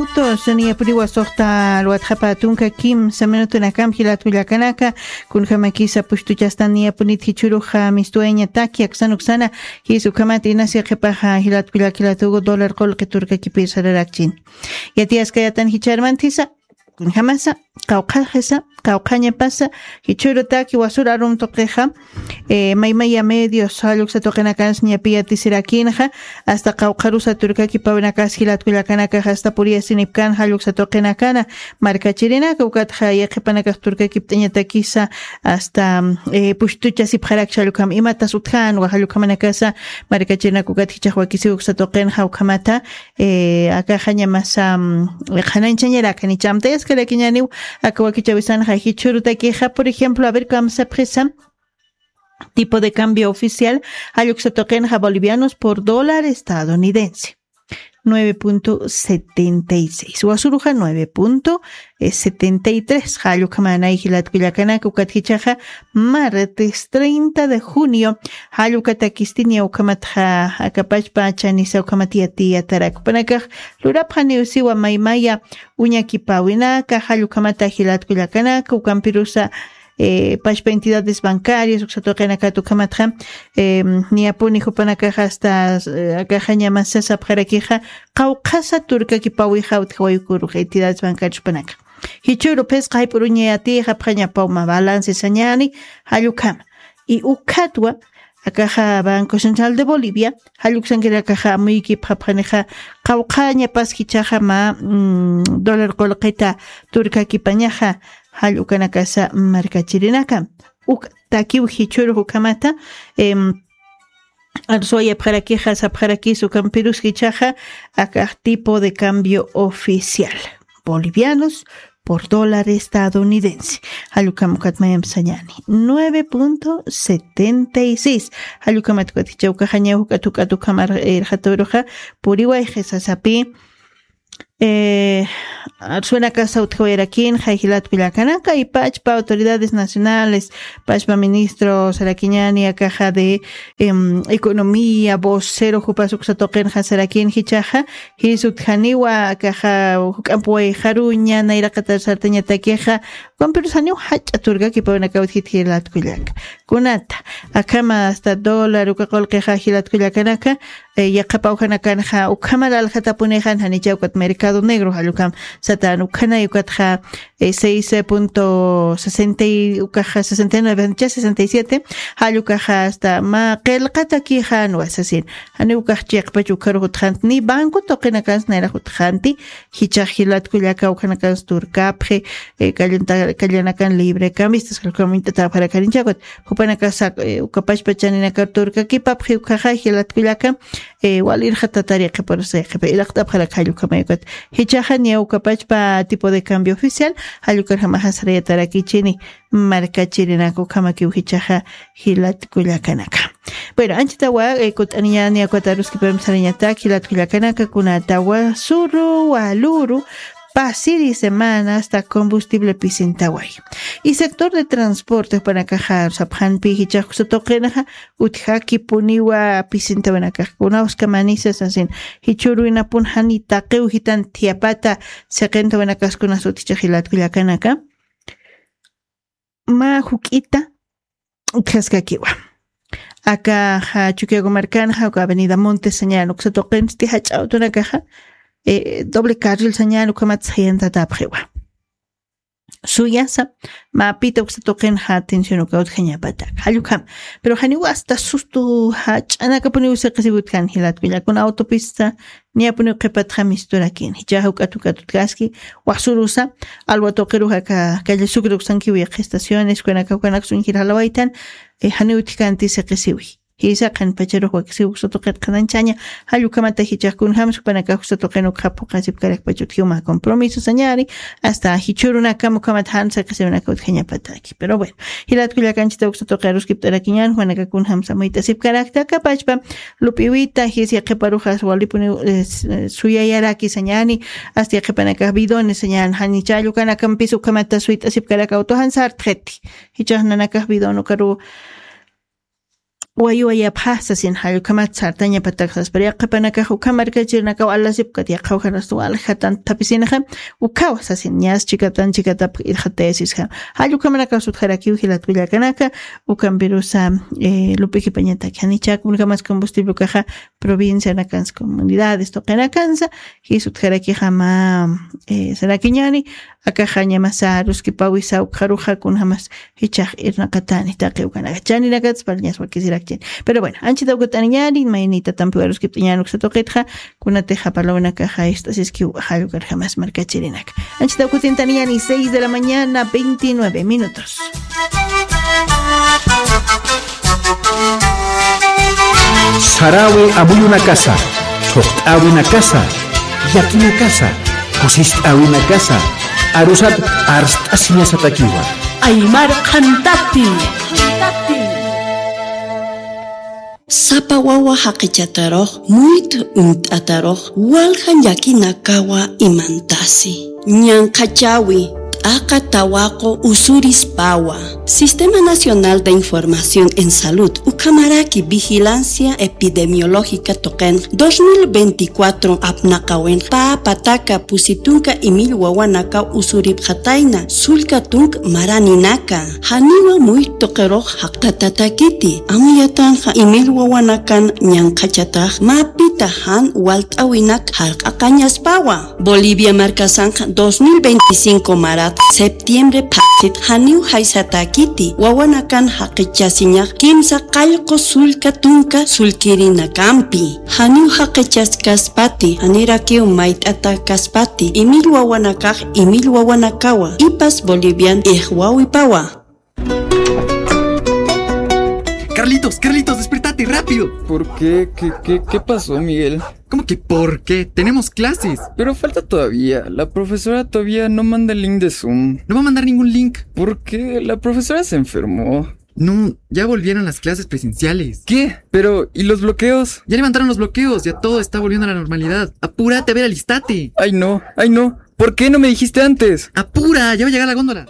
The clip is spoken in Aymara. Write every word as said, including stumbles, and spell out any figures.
Tos niyapuniwa suxta alwatxapa tunka kimsa minutunakam jilat kullakanaka, kunjamakisa pushtuchastan niyapunit jichuruxa mistuwayañataki aksan uksana. Jis ukhamat inasi qhipaxa jilat kullak jilatugu dólar qulqi turkakipir sararakchin. Yatiyaskayatan jicharmantisa, kunjamasa, qawqhaxisa, qawqhañapasa, jichhürutaki wasur arum tuqixa, eh, maymaya medios jalluksa tuqinakansa ñapi yatisirakinxa, hasta qawqharusa turkakipawinakas jilat kullakanakax hasta puriyasinipkan jalluksa tuqinakana, markachirinaka ukatxa yaqhipanakax turkakipt'añatakisa, hasta eh, pushtuchasipxarak jallukham imatas utjänwa jallukhamanakasa, markachirinaka ukat jichax wakisiw uksa tuqinxa ukhamata, eh, akaxañamasa, mm, qhananchañarakani chamtayaskarakiñaniw, aka wakichawisanxa jichhürutakixa, por ejemplo, a ver, kamsapxisa, tipo de cambio oficial, jalluksa tuqinxa bolivianos por dólar estadounidense. Nueve punto setenta y seis. Wasuruxa nueve punto setenta y tres. Jallukhamanay jilat kullakanaka ukat jichaxa martes treinta de junio. Jallukatakistiña ukhamatxa akapachpa chanisa ukhamat yatiyatarak. Upanakax lurapxaniw siwa maymaya uñakipawinaka, jallukhamata jilat kullakanaka, ukampirusa, eh, pachpa entidades bancarias, uksa tuqinakat ukhamatxa, em, niyapuni jupanakaxa hasta, eh, akaxañamasa sapxarakixa, qawqhasa turkakipawixa utjawayukurux entidades bancarias jupanaka. Jichhüru phisqa jayp'uruñayatix apxañapaw mä balance sañäni, jallukhama. Y ukhatwa, akaxa Banco Central de Bolivia, jalluksankirakaxa amuykipxapxanixa, qawqhañapas jichaxa mä, mm, dólar qulqita turkakipañaxa, jallukanakasa markachirinaka. Uk takiw jichhürux ukhamata, em, arsuwayapxarakixa, sapxarakis ukampirus jichaxa, akax tipo de cambio oficial. Bolivianos por dólar estadounidense. Jallukham ukat mayamp sañäni. Nueve punto setenta y seis. Jallukhamat ukat jichha ukaxañaw juk'at juk'at ukham ar-, irxatawiruxa puriwayxi sasapi. Eh, arsuwinakasa utjawayarakinxa jilat kullakanaka, y pachpa autoridades nacionales, pachpa ministro sarakiñäni akaxa de, em, economía, vocero jupas uksa tuqinxa sarakin jichaxa, jis utjaniwa akaxa juk'amp wayxaruña, nayraqatar sartañatakixa, ukampirus janiw jach'a turkakipawinakaw utjit jilat kullaka. Kunata, akhama hasta dólar uka qulqixa jilat kullakanaka, eh, yaqhapawjanakanxa ukhamar aljatapunixan, janicha ukat mercado negro, jallukham satan ukhanay ukatxa, eh, seis punto sesenta y, ukaxa sesenta y nueve, janicha sesenta y siete, jallukaxa hasta mä qillqatakixa nuwasasin. Janiw ukax chiqpach ukharux utjant, ni banco tuqinakans nayrax utjanti, jichax jilat kullaka ukhanakans turkapxi, eh, kallanta-, kallanakan libre cambistas, jallukham uñt'atapxarakanicha ukat, jupanakasa, eh, uka pachpa chaninakar turkakipapxi ukaxa jilat kullaka, eh, wal irxatatar yaqhiparus yaqhipa irxt'apxarak jallukhamay ukat. Jichaxa niya uka pachpa tipo de cambio oficial, jallukarjamaxa sarayatarakichini markachirinaka ukhamakiw jichaxa jilat kullakanaka. Bueno, anchitawa, eh, kut'aniñäni ukat aruskipamp sarañatak jilat kullakanaka, kunatawa suru waluru, pasiri semana hasta combustible pisintaway. Y sector de transporte jupanakaxa sapxanpi jichax uksa tuqinxa utjakipuniwa pisintawinakax, kunawskamanisa sasin, jichhürwinapun jani taqiw jitan thiyapata siqintawinakas kunas utjicha jilat kullakanaka. Mä juk'ita utjaskakiwa. Akaxa Chukiyawu markanxa, uka Avenida Montes sañäni uksa tuqinsti jach'a awtunakaxa, eh, doble carril sañäni ukhamat sayantatapxiwa. Suyasa, mapita uksa tuqinxa atención uka utjañapatak. Jallukham. Pero janiw hasta sustu jach'anakapuniw siqisiw utjan jilat kullaka, kuna autopista niyapuniw qhipatxa misturakin. Jichhaxa juk'at juk'at utjaski, wasurusa, alwa tuqirux aka calle Sucre uksankiw yaqha estaciones, ukanaka, ukanaka suñjir jalawaytan, eh, janiw utjkanti siqisiwi. Jisa qhanpacharux wakisiw uksa tuqit qhananchaña, jallukhamata jichax kunjams jupanakax uksa tuqin ukxa phuqasipkarakpach utjiw mä compromiso sañäni, hasta jichhürunakam ukhamat jan siqisiwinaka utjañapataki. Pero bueno, jilat kullakanchita uksa tuqi aruskipt'arakiñän, jupanaka kunjams amuyt'asipkarakta, akapachpa, lup'iwita, jis yaqhiparuxas walipuniw, eh, s-, eh, suyayaraki sañäni, hasta yaqhipanakax bidones sañäni, janicha jallukanakampis ukhamata suyt'asipkarak auto jan sartxiti. Jichax nanakax bidon ukaru wayuwayapxa sasin, jallukhamat sartañapatak saspar yaqhipanakax ukham markachirinakaw alasipkat yaqhawjaras waljatan thapisinxa, ukhawa sasin ñas chikatan chikatap irxatayasisxa. Jallukhamanakaw sutjarakiw jilatkullakanaka. Ukampirusa lup'ikipañatak janichak unkhamas combustible ukaxa provincianakansa comunidades tuqinakansa. Jisutjarakixama sarakiñani. Akaxañamasa ruskipawisa ukxaruxa kunjamas jichax irnaqatani taqiwkanaka chaninakatspalñas wakisirakchani. Pero bueno, anchita ukat'aniñani mayni tatampiwa ruskipt'añani uksatuqitxa. Kunatixa palawnakaxa ist'asiskiw. Jallukarjamas markachirinaka. Anchita ukatintaniñani seis de la mañana veintinueve minutos. Sarawi amuyunakasa, thuqt'awinakasa, yakinakasa, kusist'awinakasa, arusat arst'asiñasatakiwa. Aymar qhantati. Sapa wawa jaqichatarux muyt uñt'atarux walja llakinakawa imantasi. Ñanqhachawi t'aqa tawaqu usurispawa. Sistema Nacional de Información en Salud ukhamaraki vigilancia epidemiológica tuqinx dos mil veinticuatro apnaqawinx pä pataka pusi tunka imil wawanakaw usuripxatayna sullka tunk maraninaka. Janiwa muyt tuqirux jaqtatatakiti. Amayatanxa imil wawanakan ñanqhachatax mäpita jan walt'awinak jarq'aqañaspawa. Bolivia markasanxa dos mil veinticinco marat septiembre phasit janiw jaysatakiti wawanakan jaqichasiñax kimsa qallqu sullka tunka sullkirinakampi. Janiw jaqichaskaspati janirakiw mayt'atakaspati imil wawanakax imil wawanakawa ipas bolivian ixwawipawa. Carlitos, Carlitos, despertate, rápido. ¿Por qué? ¿Qué, qué, qué pasó, Miguel? ¿Cómo que por qué? Tenemos clases. Pero falta todavía. La profesora todavía no manda el link de Zoom. No va a mandar ningún link. ¿Por qué? La profesora se enfermó. No, ya volvieron las clases presenciales. ¿Qué? Pero, ¿y los bloqueos? Ya levantaron los bloqueos, ya todo está volviendo a la normalidad. Apúrate, a ver, alistate. Ay, no, ay, no. ¿Por qué no me dijiste antes? Apura, ya va a llegar la góndola.